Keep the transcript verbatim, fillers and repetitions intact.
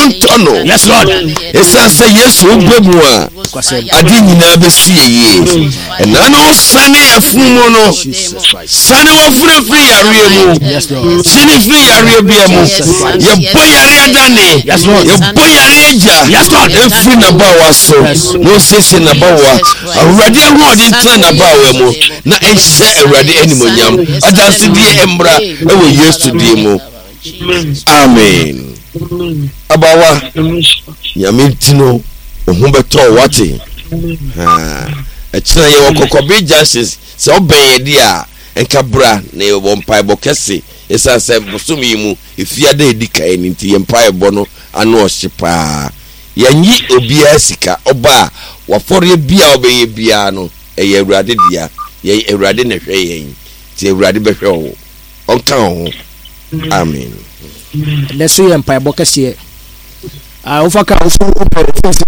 ho ntɔ no. Yes, Lord. Ɛsiane sɛ Yesu wobɛ mu a, ade nyinaa bɛsi yɛ yie. Ɛna no wosane yɛfunu mu no, sane wafunu firi yareɛ mu, sane firi yareɛ bia mu. Yɛbɔ yareɛ dane, yɛbɔ yareɛ gya ɛfiri n'abawa so na ɔsiesie n'abawa. Awurade ahoɔden tena n'abawa mu na ɛnhyɛ Awurade animonyam. Adansedie mmra ɛwɔ Yesu din mu. Amen. Abawa, Nyame nti no, wo ho bɛtɔ wo, wate? Ɛkyena yɛwɔ Kɔkɔbe Junction, sɛ wobɛn yɛ deɛ a, nka bra na yɛwɔ mpaebɔ kɛse. Ɛsiane sɛ bosome yi mu efiada a ɛdi kan no nti, yɛn mpaebɔ no ano ɔhye paa. Yɛnnye obiara sika, ɔba a, w'afɔreɛ biara a wobɛyɛ biara no, ɛyɛ Awurade dea. Yɛn Awurade na ɛhwɛ yɛn, nti Awurade bɛhwɛ wo. Ɔnka wo ho. Amen. Ɛnɛ so yɛ mpaebɔ kɛseɛ. Ah, wofa ka wofu wopɛ wofu